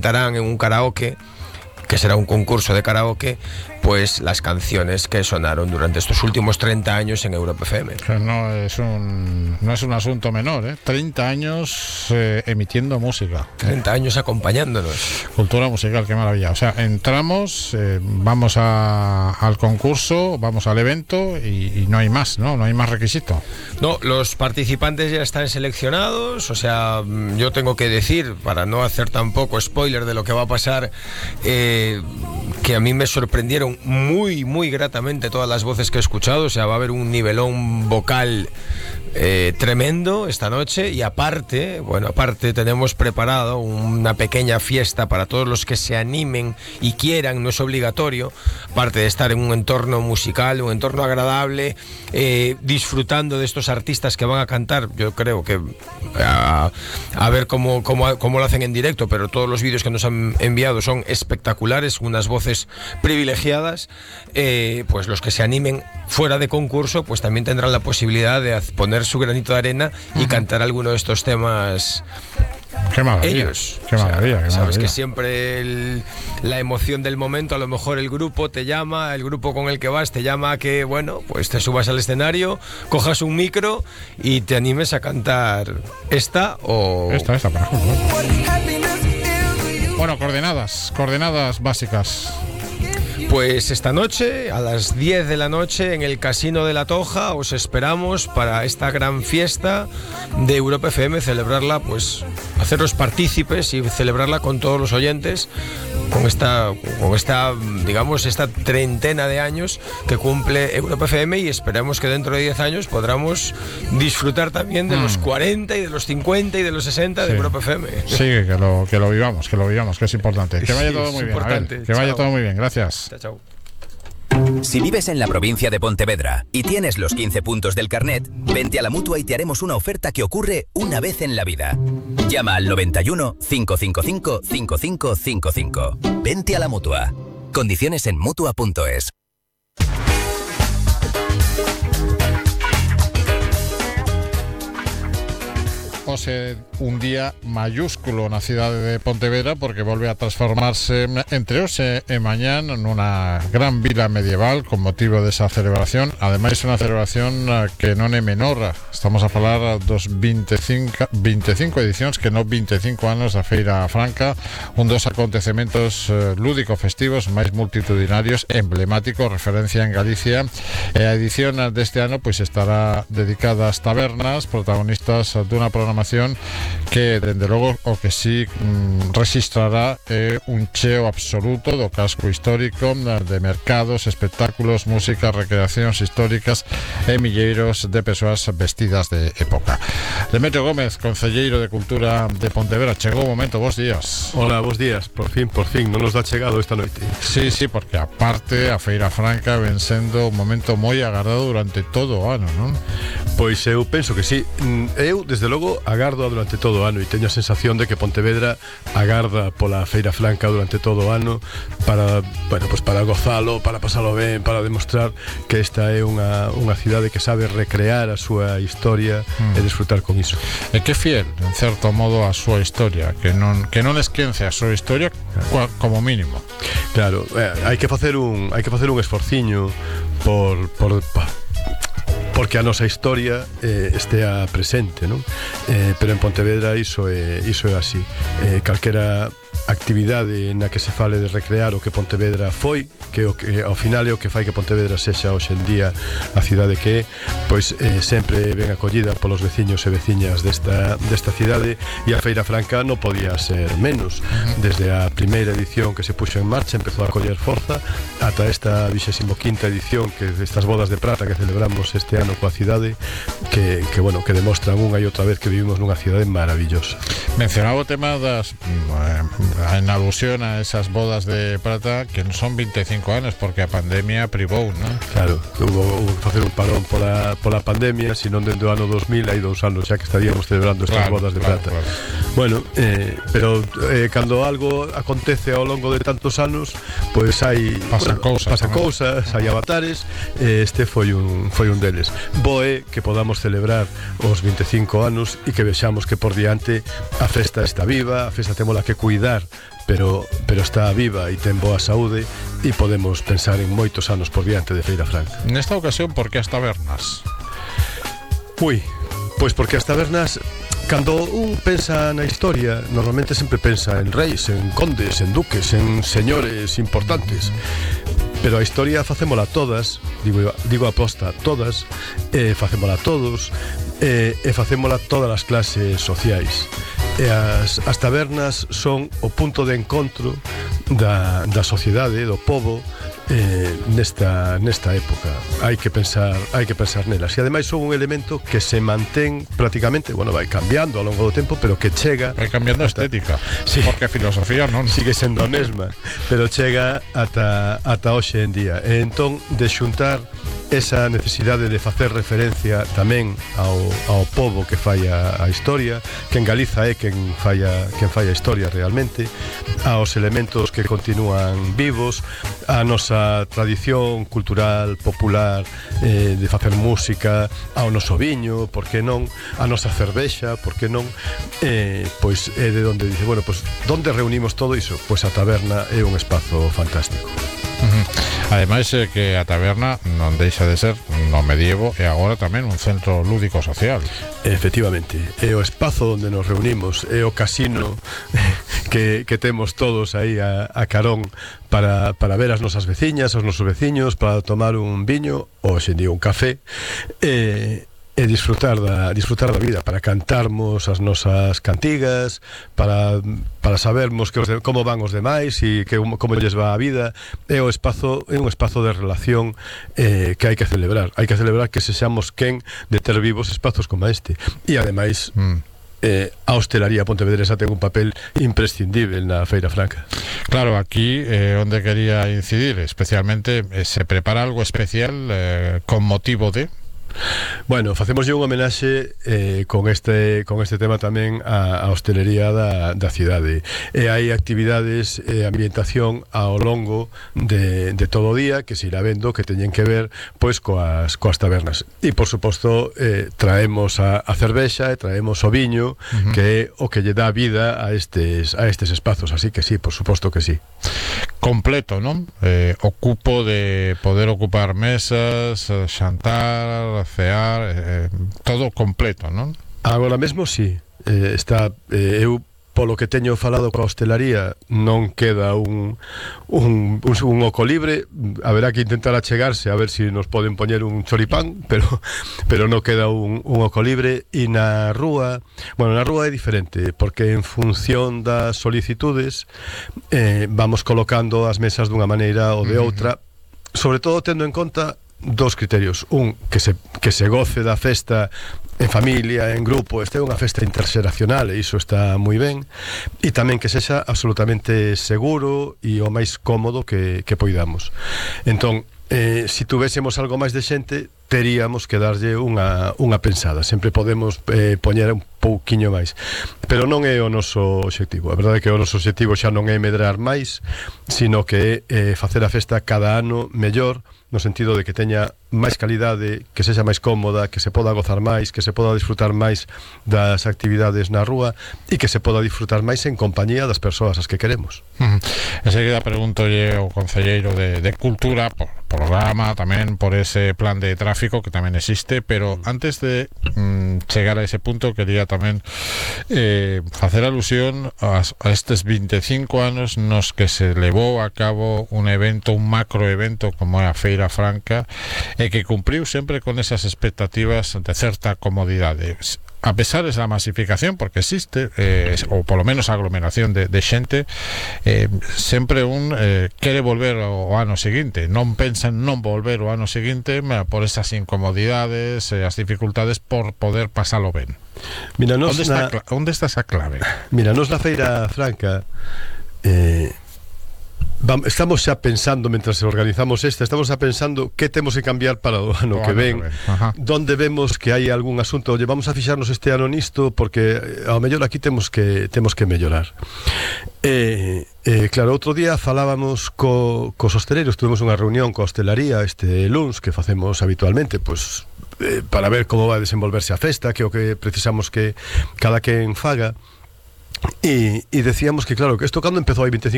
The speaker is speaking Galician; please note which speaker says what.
Speaker 1: cantarán en un karaoke, que será un concurso de karaoke, pues las canciones que sonaron durante estos últimos 30 años en Europa FM.
Speaker 2: No es un asunto menor, ¿eh? 30 años emitiendo música.
Speaker 1: 30 años acompañándonos.
Speaker 2: Cultura musical, qué maravilla. O sea, entramos, vamos al concurso, vamos al evento y no hay más, ¿no? No hay más requisito.
Speaker 1: No, los participantes ya están seleccionados, o sea, yo tengo que decir, para no hacer tampoco spoiler de lo que va a pasar, que a mí me sorprendieron muy, muy gratamente todas las voces que he escuchado. O sea, va a haber un nivelón vocal tremendo esta noche. Y aparte tenemos preparado una pequeña fiesta para todos los que se animen y quieran, no es obligatorio, aparte de estar en un entorno musical, un entorno agradable, disfrutando de estos artistas que van a cantar. Yo creo que a ver cómo lo hacen en directo, pero todos los vídeos que nos han enviado son espectaculares, unas voces privilegiadas. Pues los que se animen fuera de concurso, pues también tendrán la posibilidad de poner su granito de arena y cantar alguno de estos temas.
Speaker 2: Qué maravilla,
Speaker 1: ellos.
Speaker 2: Qué maravilla.
Speaker 1: Sabes que siempre la emoción del momento, a lo mejor el grupo te llama, el grupo con el que vas te llama a que, bueno, pues te subas al escenario, cojas un micro y te animes a cantar esta, por ejemplo.
Speaker 2: Bueno, coordenadas básicas.
Speaker 1: Pues esta noche, a las 10 de la noche, en el Casino de la Toja, os esperamos para esta gran fiesta de Europa FM, celebrarla, pues, haceros partícipes y celebrarla con todos los oyentes, con esta, digamos, esta treintena de años que cumple Europa FM, y esperamos que dentro de 10 años podamos disfrutar también de los 40 y de los 50 y de los 60 de Europa FM.
Speaker 2: Sí, que lo vivamos, que es importante. Que vaya todo muy bien. Que vaya todo muy bien, gracias.
Speaker 1: Chao.
Speaker 3: Si vives en la provincia de Pontevedra y tienes los 15 puntos del carnet, vente a la Mutua y te haremos una oferta que ocurre una vez en la vida. Llama al 91 555 5555. Vente a la Mutua. Condiciones en Mutua.es.
Speaker 2: Un día mayúsculo na cidade de Pontevedra, porque volve a transformarse entre hoxe e mañán nunha gran vila medieval con motivo desa celebración. Ademais, unha celebración que non é menor. Estamos a falar dos 25 edicións, que non 25 anos da Feira Franca, un dos acontecementos lúdico-festivos máis multitudinarios, emblemático, referencia en Galicia. E a edición deste ano pois estará dedicada ás tabernas, protagonistas dunha programación que, dende logo, o que sí registrará un cheo absoluto do casco histórico, de mercados, espectáculos, música, recreacións históricas e milleiros de persoas vestidas de época. Demetrio Gómez, concelleiro de Cultura de Pontevedra, chegou o momento, bos días.
Speaker 4: Hola, bos días, por fin, non nos dá chegado esta noite.
Speaker 2: Sí, porque aparte a Feira Franca ven sendo un momento moi agardado durante todo o ano, non?
Speaker 4: Pois eu penso que sí. Eu, desde logo, agardo durante todo o ano, e teño a sensación de que Pontevedra agarda pola Feira Franca durante todo o ano para gozalo, para pasalo ben, para demostrar que esta é unha cidade que sabe recrear a súa historia e disfrutar con iso.
Speaker 2: E que fiel, en certo modo, a súa historia, que non esquence a súa historia como mínimo.
Speaker 4: Claro, hai que facer un esforciño porque a nosa historia estea presente, non? Pero en Pontevedra iso é así. Calquera actividade na que se fale de recrear o que Pontevedra foi, que ao final é o que fai que Pontevedra sexa hoxe en día a cidade que é, pois sempre ben acollida polos veciños e veciñas desta cidade, e a Feira Franca non podía ser menos. Desde a primeira edición que se puxo en marcha empezou a coller forza ata esta 25ª edición, que destas bodas de prata que celebramos este ano coa cidade, que demostran unha e outra vez que vivimos nunha cidade maravillosa.
Speaker 2: Mencionaba o tema das en alusión a esas bodas de plata, que non son 25 anos porque a pandemia privou, non?
Speaker 4: Claro, hubo que facer un parón pola pandemia, senón dentro do ano 2000 hai 2 anos xa que estaríamos celebrando estas bodas de plata. Claro. Bueno, pero cando algo acontece ao longo de tantos anos, pois hai
Speaker 2: pasan cousas,
Speaker 4: hai avatares, este foi un deles. Boe que podamos celebrar os 25 anos e que vexamos que por diante a festa está viva, a festa témola que cuidar, pero está viva e ten boa saúde e podemos pensar en moitos anos por diante de Feira Franca.
Speaker 2: Nesta ocasión, por que as tabernas?
Speaker 4: Pois porque as tabernas, cando un pensa na historia, normalmente sempre pensa en reis, en condes, en duques, en señores importantes. Pero a historia facémola todas, digo aposta, todas, facémola todos, e facémola todas as clases sociais. E as tabernas son o punto de encontro da sociedade, do pobo, nesta época. Hai que pensar nelas. E ademais son un elemento que se mantén prácticamente, bueno, vai cambiando ao longo do tempo, pero que chega...
Speaker 2: Vai cambiando a estética, sí, porque a filosofía non
Speaker 4: sigue sendo a mesma, pero chega ata hoxe en día. E entón, de xuntar esa necesidade de facer referencia tamén ao pobo que fai a historia, que en Galiza é quen fai a historia realmente, aos elementos que continúan vivos, a nosa tradición cultural, popular, de facer música, ao noso viño, por que non, a nosa cervexa, por que non, pois é de onde dice, bueno, pois onde reunimos todo iso? Pois a taberna é un espazo fantástico.
Speaker 2: Ademais que a taberna non deixa de ser no medievo e agora tamén un centro lúdico social.
Speaker 4: Efectivamente, é o espazo onde nos reunimos, é o casino que temos todos aí a carón para ver as nosas veciñas, os nosos veciños, para tomar un viño ou xendía un café, e disfrutar da vida, para cantarmos as nosas cantigas, para sabermos como van os demais e como lles va a vida. É un espazo de relación que hai que celebrar que sexamos quen de ter vivos espazos como este. E ademais a hostelería pontevedresa ten un papel imprescindible na Feira Franca.
Speaker 2: Claro, aquí onde quería incidir especialmente, se prepara algo especial con motivo de...
Speaker 4: Bueno, facémoslle un homenaxe con este tema tamén a hostelería da cidade. E hai actividades e ambientación ao longo de todo o día que se irá vendo que teñen que ver pois coas tabernas. E por suposto traemos a cervexa e traemos o viño, que é o que lle dá vida a estes espazos, así que sí, por suposto que sí.
Speaker 2: Completo, non? O cupo de poder ocupar mesas, xantar, cear, todo completo, non?
Speaker 4: Agora mesmo sí, está, eu polo que teño falado coa hostelaría non queda un oco libre. Haberá que intentar achegarse a ver se nos poden poñer un choripán, pero non queda un oco libre. E na rúa é diferente, porque en función das solicitudes vamos colocando as mesas dunha maneira ou de outra, sobre todo tendo en conta dos criterios: un, que se goce da festa en familia, en grupo, este é unha festa interxeracional e iso está moi ben, e tamén que sexa absolutamente seguro e o máis cómodo que poidamos. Entón, se tuvésemos algo máis de xente, teríamos que darlle unha pensada. Sempre podemos poñer un pouquiño máis, pero non é o noso obxectivo. A verdade é que o noso obxectivo xa non é medrar máis, sino que é facer a festa cada ano mellor, no sentido de que teña máis calidade, que sexa máis cómoda, que se poda gozar máis, que se poda disfrutar máis das actividades na rúa e que se poda disfrutar máis en compañía das persoas as que queremos.
Speaker 2: Enseguida preguntolle ao concelleiro de Cultura por programa, tamén por ese plan de tráfico que tamén existe, pero antes de chegar a ese punto quería tamén facer alusión a estes 25 anos nos que se levou a cabo un evento, un macroevento como é a Feira Franca, e que cumpriu sempre con esas expectativas de certa comodidade. A pesar da masificación, porque existe, ou polo menos a aglomeración de xente, sempre un quere volver ao ano seguinte, non pensa en non volver ao ano seguinte por esas incomodidades e as dificultades por poder pasalo ben.
Speaker 4: Mira,
Speaker 2: onde está esa clave?
Speaker 4: Mira, nos na Feira Franca estamos xa pensando, mentras organizamos estamos xa pensando que temos que cambiar para o ano que ven, donde vemos que hai algún asunto, oye, vamos a fixarnos este ano nisto, porque ao mellor aquí temos que mellorar. Claro, outro día falábamos cos hosteleiros, tuvemos unha reunión coa hostelaría este luns, que facemos habitualmente, pois, para ver como vai desenvolverse a festa, que é o que precisamos que cada quen faga. E decíamos que, claro, que isto cando empezou hai 25